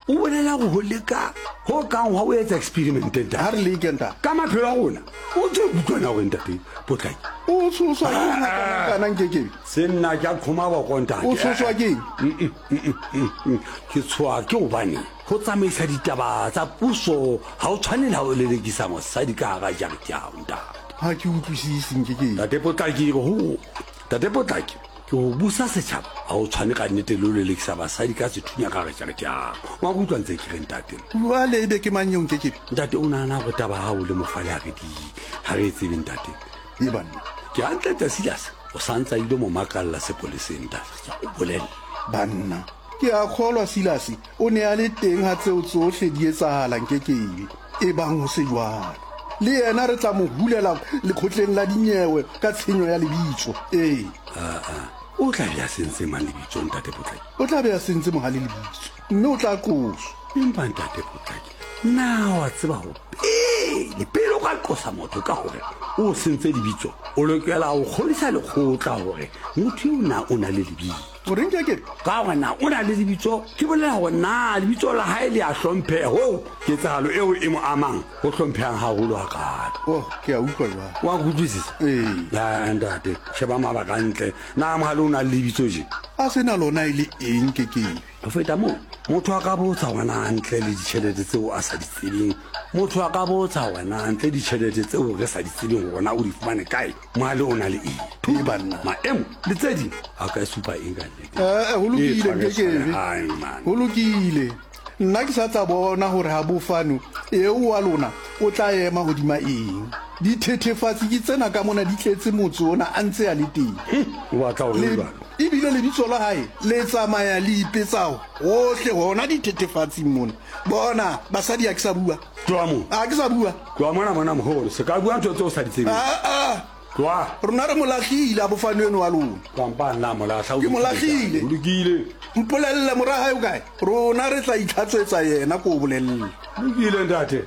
O bolela go ho leka ho kang hwa o etsa experiment ntate. Ha re leke ntate. Ka maphelo a rona. O ntse o utlwa na hore ntate Potlaki. O tshoswa ke eng hakanakana Nkekebe? Se nna ke a qhoma boko ntate. O tshoswa ke eng? Ke tshoha ke hobane ho tsamaisa ditaba tsa puso ha o tshwane le ha o lelekisa mosadi ka hara jarete ya hao ntate. Ha ke utlwisise Nkekebe. Ntate Potlaki ho Ntate Potlaki ke ho busa setjhaba ha o tshwane ka nnete le ho lelekisa basadi ka sethunya ka hara jarete ya hao. Wa nkutlwa ntse ke re ntate? Jwale ebe ke mang eo Nkekebe? Ntate o nahana hore taba hao le Mofale ha re di ha re e tsebe ntate. E banna. Ke hantle ntate Silas o sa ntsa ile mo makalla sepoleseng ntate ke a o bolella. Banna. Ke a kgolwa Silas o ne a le teng ha tseo tsohle di etsahala Nkekebe. Ebang ho se jwalo, le yena re tla mo hulela lekgotleng la dinyewe ka tshenyo ya lebitso. Ee. Aa, o tla be a sentse mang lebitso, Ntate Potlaki? O tla be a sentse Mohale lebitso, mme o tla qoswa. Empa, Ntate Potlaki, na wa tseba ho pele, pele o ka qosa motho ka hore o sentse lebitso, o lokela ho kgodisa lekgotla hore motho eo na o na le lebitso? O reng ke ke? Ka hore na o na le lebitso, ke bolela hore na lebitso la hae le a hlompheha hoo ketsahalo eo e mo amang ho hlomphehang haholo hakaalo. Oh, ke a utlwa jwale. Wa nkutlwisisa? Ee. Ya, ntate, sheba mabaka hantle. Na Mohale o na le lebitso je? A se na lona e le eng ke ke? Ho feta moo, motho a ka botsa hore na ntle le ditjhelete tseo a sa di tsebeng, motho a ka botsa hore na ntle ditjhelete tseo re sa di tsebeng hore na o di fumane kae, Mohale o na le eng, Ee, banna. maemo le tse ding, a ka supa eng ka nnete? Eh, ho lokile, E Nkekebe. tshwarehang, man. Ho lokile. Nna ke sa tla bona hore ha bofano eo wa lona o tla ema hodima eng. Dithethefatsi ke tsena ka mona di tletse motse ona a ntse a le teng. O batla hore Le, jwalo? ebile lebitso la hae le tsamaya le ipetsa hohle hona dithethefatsing mona. Bona, basadi ha ke sa bua. Tloha moo. A ke sa bua. Tloha mona mona moholo. Se ka bua ntho tseo o sa di tsebeng. Aa. Tloha. Rona re mo lahlile a bofano eno wa lona. Kampa nna mo lahla. Ke mo lahlile. Ho lokile. Mpolelle mora hae o kae? Rona re tla itlhatswetsa yena ko o bolelle. Lokile ntate.